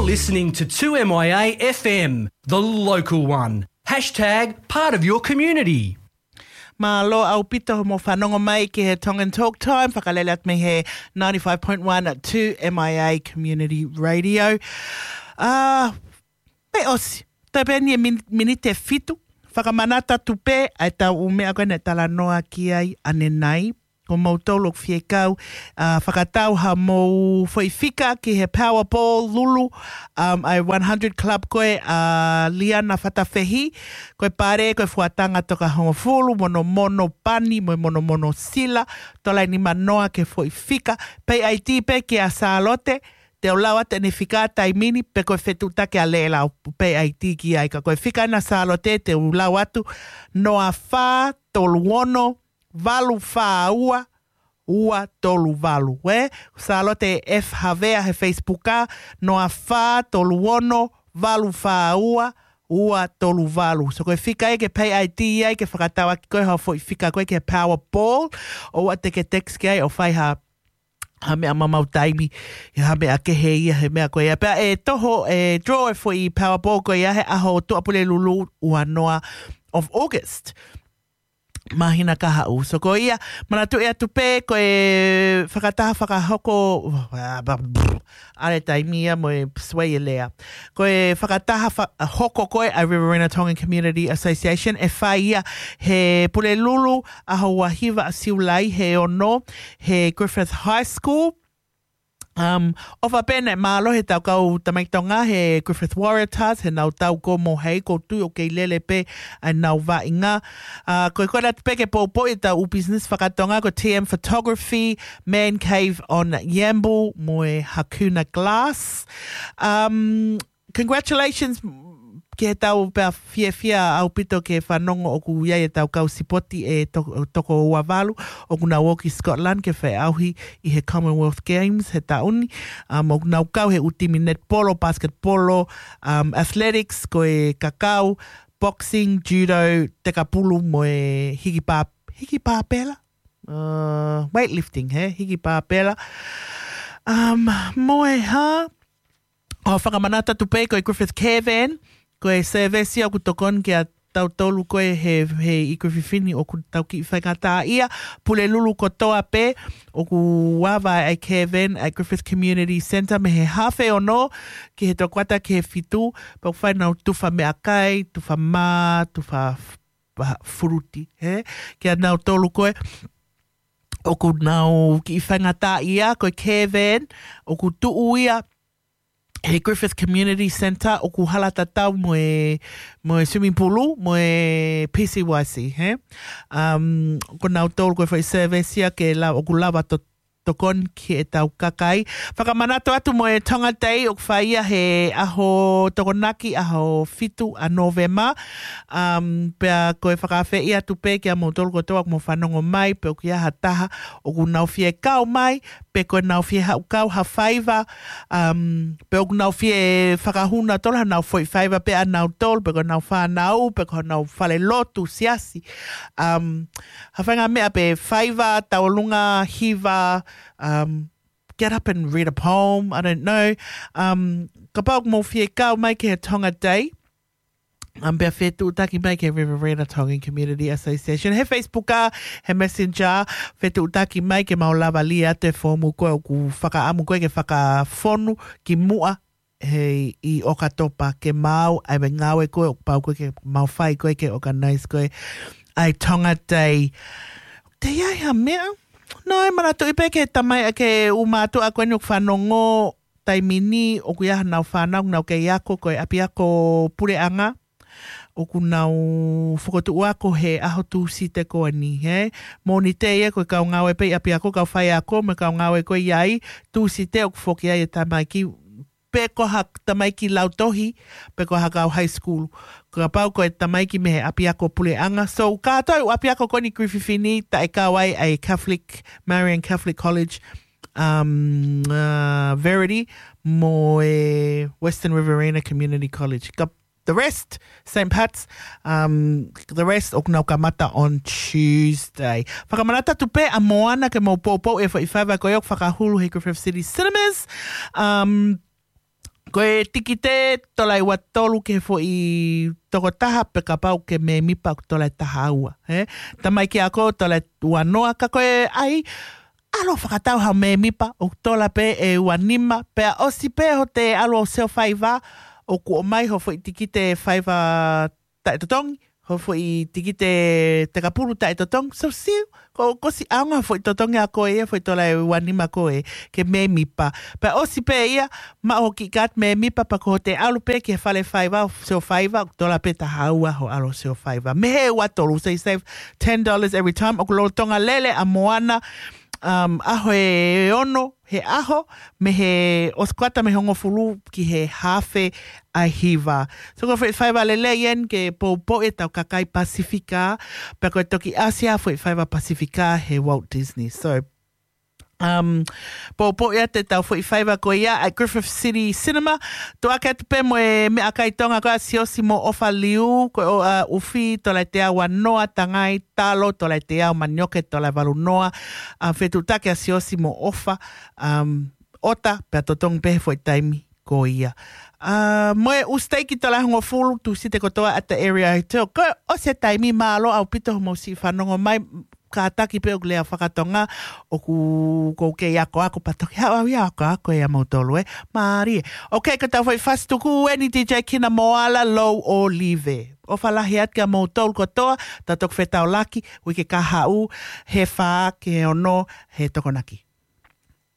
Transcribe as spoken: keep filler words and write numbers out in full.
Listening to two M I A F M, the local one. Hashtag part of your community. Mālō ʻaupito hoʻomo fanongo mai ki he Tongan Talk Time, fakalele atu mei he ninety-five point one two M I A Community Radio. Ah, pea ʻosi, toe pē eni e min-, miniti ʻe fitu. Fakamanatu atu pē ʻa e tau ʻū meʻa ko ē naʻe talanoa ki ai ʻanenai. Ko moutolu ʻoku fie kau, ah, fakatau haʻamou foʻi fika ki he Powerball Lulu, um, ʻa e one hundred Club ko ē ʻa Liana Fatafehi, ko e pale, ko e fuatanga toka hongofulu, monomono pani, mo e monomono sila, tola ʻe nima noa ki he foʻi fika, pay I D pē kia Sālote, te u lau atu ʻene fika taimi ni, pe ko e fetuʻutaki ʻa Lela ʻo pay I D ki ai, ka ko e fika ʻena Sālote, te u lau atu, noa fā tolu ono, valu fā ua, ua tolu valu, ē? Sālote F Havea he Facebook ā, noa fā tolu ono, valu fā ua, ua tolu valu. So ko e fika ē ke pay I D ai, ke fakatau ʻaki ko ē hoʻo foʻi fika ko ē ki he Powerball, ʻoua te ke text ki ai ʻo fai ha, ha meʻa mamau taimi, ha meʻa kehe ia, he meʻa ko ia. Pea ʻe toho, ʻe draw e foʻi Powerball ko ia he ʻaho Tuʻapulelulu ua noa of August. Māhina kahaʻu. So ko ia, manatuʻi atu pē ko e fakataha fakahoko, ʻa e taimi ia mo e sway e lea. Ko e fakataha fa-, hoko ko ē ʻa e Riverina Tongan Community Association ʻe fai ia he Pulelulu ʻaho ua hiva ʻa Siulai he ono he Griffith High School. Um, ʻofa pē naʻe mālohi ʻetau kau tamaiki Tonga he Griffith Waratahs, he nau tau ko mo hei ko tui ʻoku kei lele pē ʻa ʻenau vaʻinga. Uh, ko e kole atu pē ke poupou ʻetau ʻū business fakatonga ko T M Photography, Man Cave on Yamble, mo e Hakuna Glass. Um, congratulations ki he tau pea fiefia ʻaupito ke fanongo ʻoku ʻi ai ʻetau kau sipoti ʻe to-, toko ua valu, ʻoku nau ō ki Scotland ke feʻauhi ʻi he Commonwealth Games he taʻu ni. Um, ʻoku nau kau he ʻū timi netipolo, basketpolo, um, athletics, ko e kakau, boxing, judo, tekapulu mo e hiki pā-, hiki pāpela? Uh, weightlifting, he? Hiki pāpela. Um, mo e hā? ʻO fakamanatu atu pē ko e Griffith Caravan, ko e service ia ʻoku tokoni kia tautolu ko ē he, he ʻi Griffith ni ʻoku tau kiʻi faingataʻaʻia, Pulelulu kotoa pē, ʻoku ava ʻa e caravan ʻa e Griffith Community Centre mei he hafe ono ki he toko ua ki he fitu, pea ʻoku fai ʻenau tufa meʻakai, tufa mā, tufa f-, pa-, furuti, he? Kia nautolu ko ē, ʻoku nau kiʻi faingataʻaʻia, ko e caravan, ʻoku tuʻu ia he Griffith Community Centre, ʻoku hala tatau mo e, mo e swimming pool, mo e P C Y C, he? Um, ko nautolu ko e foʻi service ia ke la-, ʻoku lava to-, tokoni ki heʻetau kakai. Fakamanatu atu mo e Tonga Day ʻoku fai ia he ʻaho Tokonaki, ʻaho fitu ʻa Nōvema. Um, pea ko e fakaafeʻi atu pē kia moutolu kotoa ʻoku mou fanongo mai, pe ʻoku ʻi ai ha taha ʻoku nau fie kau mai, pe ko e nau fie haʻu kau ha faiva, um, pe ʻoku nau fie fakahū nautolu hanau foʻi faiva pē ʻanautolu, pe ko ʻenau fānau, pe ko honau fale lotu, siasi. Um, ha faʻahinga meʻa pē faiva, tauʻolunga, hiva, um, get up and read a poem, I don't know. Um, kapau ʻoku mou fie kau mai ki he Tonga Day, um, pea fetuʻutaki mai ki he Riverina Tongan Community Association. He Facebook ā, he Messenger, fetuʻutaki mai ke mau lava lī atu e foomu ko ē ʻoku fakaʻamu ko ē ke fakafonu ki muʻa he ʻi ʻOkatopa ke mau, ʻa e ngāue ko ē ʻoku pau ko ē ke mau fai ko ē ke organize ko ē ʻa e Tonga Day. Te ʻi ai ha meʻa? No, ʻe manatuʻi pē ke tamai ʻa e ʻū mātuʻa ko eni ʻoku fanongo taimi ni ʻoku ʻi ai hanau fānau, nau kei ako ko e ʻapiako puleʻanga. ʻOku nau fokotuʻu ako he ʻaho Tūsite ko eni, he? Mōnite ia ko e kau ngāue pē ʻi ʻapiako, kau faiako, mo e kau ngāue ko ē ʻi ai, Tūsite ʻoku foki ai e tamaiki, pe ko ha tamaiki lautohi, pe ko ha kau high school. Kapau ko e tamaiki mei he ʻapiako puleʻanga. So, kātoa e ʻū ʻapiako ko eni Griffith ni, taʻe kau ai ʻa e Catholic, Marian Catholic College, um, uh, Verity, mo e Western Riverina Community College. Ka the rest, Saint Pat's, um, the rest ʻoku nau kamata on Tuesday. Fakamanatu atu pē ʻa Moana ke mau poupou e foʻi faiva ko ē ʻoku fakahulu he Griffith City Cinemas. Um, Ko e tikite tola ʻe ua tolu ki he foʻi tokotaha pe kapau ke mēmipa ʻoku tola ʻe taha ua. He? Tamai ki ako tola ʻe ua noa ka ko e ai ʻalu fakatau ha mēmipa ʻoku tola pē ʻe ua nima. Pea ʻosi pē hoʻo ʻalu ʻo sio faiva ʻoku ʻomai ho foʻi tikite faiva taʻetotongi, ho foʻi tikite tekapulu taʻetotongi, so siu, ko, ko si ʻaonga foʻi totongi ʻa koe ia, foʻi tola ʻe ua nima ko ē, ke mēmipa. Pea ʻosi pē ia, maʻu ho kiʻi kaati mēmipa, pea ko hoʻo ʻalu pē ki he fale faiva, sio faiva, tola pē taha ua ho ʻalu sio faiva. Mei he ua tolu, so you save ten dollars every time, ʻoku lolotonga lele ʻa Moana, um, ʻaho ʻe ono, he ʻaho, mei he ʻosi kuata mei he hongofulu ki he hafe ʻa e hiva. So ko e foʻi faiva lelei eni ke poupou ʻetau kakai Pasifika, pea ko e toki ʻasi ʻa e foʻi faiva Pasifika he Walt Disney. So, um, poupou ʻetau foʻi faiva ko ia ʻa e Griffith City Cinema. Tuʻu ake atu pē mo e meʻakai Tonga ko ē ʻa Siosi mo ʻOfa Liu, ko e ʻo, uh, ufi, tola ʻe teau ua noa, tangai, talo, tola ʻe teau, manioke, tola ʻe valu noa, a, fetuʻutaki ʻa Siosi mo ʻOfa, um, ʻota, pea totongi pē he foʻi taimi ko ia. A, mo e ʻū siteiki tola ʻe hongofulu, Tūsite kotoa at the area hotel. Ko e ʻosi e taimi, mālō ʻaupito hoʻomou siʻi fanongo mai, kātaki pē ʻoku lea fakatonga, ʻoku ou kei akoako pea toki haʻu au ia akoako ʻia moutolu ē. Mālie. Ok, ko ʻetau foʻi fasi tuku eni D J Kina Moala, Lou ʻo Live. ʻOfa lahi atu kia moutolu kotoa, tau toki fetaulaki, uike kahaʻu, he fā ki he ono, he Tokonaki.